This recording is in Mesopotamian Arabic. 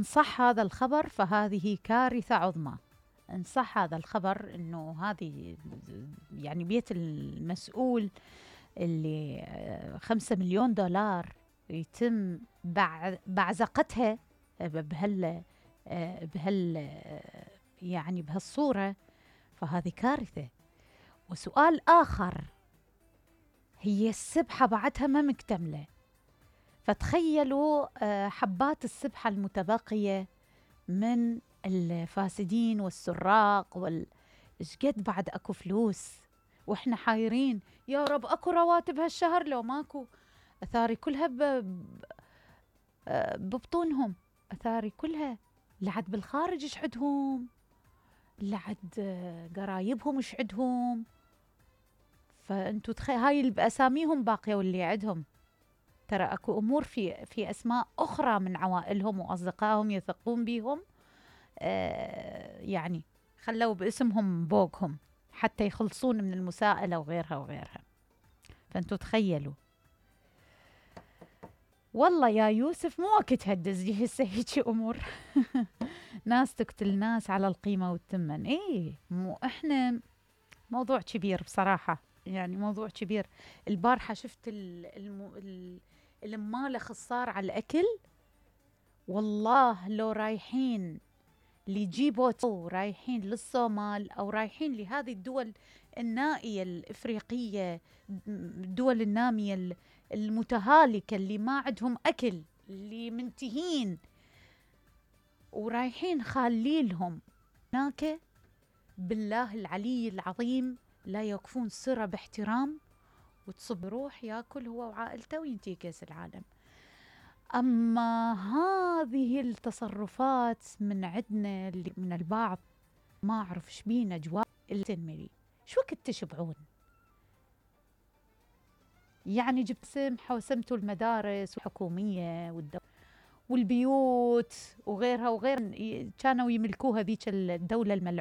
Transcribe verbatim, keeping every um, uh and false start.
إن صح هذا الخبر فهذه كارثة عظمى. إن صح هذا الخبر إنه هذه يعني بيت المسؤول اللي خمسة مليون دولار يتم بعزقتها بهال بهال يعني بهالصورة، فهذه كارثة. وسؤال آخر، هي السبحة بعدها ما مكتملة، فتخيلوا حبات السبحة المتبقية من الفاسدين والسراق وال إيش قد بعد أكو فلوس، وإحنا حايرين يا رب أكو رواتب هالشهر لو ماكو. أثاري كلها ب... ببطونهم، أثاري كلها لعد بالخارج إيش عدهم، لعد قرايبهم إيش عدهم. فأنتوا تخيل هاي بأساميهم باقية واللي عدهم، ترى أكو أمور في في أسماء أخرى من عوائلهم وأصدقائهم يثقون بهم، آه يعني خلوا باسمهم بوقهم حتى يخلصون من المساءلة وغيرها وغيرها. فأنتوا تخيلوا. والله يا يوسف مو وقت هدز لي هسه هيجي أمور ناس تقتل ناس على القيمة والثمن. إيه مو إحنا موضوع كبير بصراحة، يعني موضوع كبير. البارحة شفت المالخ الصار على الأكل، والله لو رايحين لجيبوتو، رايحين للصومال أو رايحين لهذه الدول النائية الإفريقية، الدول النامية المتهالكة اللي ما عندهم أكل، اللي منتهين ورايحين خاليلهم هناك، بالله العلي العظيم لا يوقفون صرة باحترام، وتصب روح ياكل هو وعائلته وينتهي كأس العالم. أما هذه التصرفات من عندنا من البعض ما أعرف إيش بينا جواب التنمري. شو وقت تشبعون؟ يعني جبت سمحة وسمتوا المدارس الحكومية والدولة والبيوت وغيرها وغير، كانوا يملكوها ذيك الدولة الملعونة.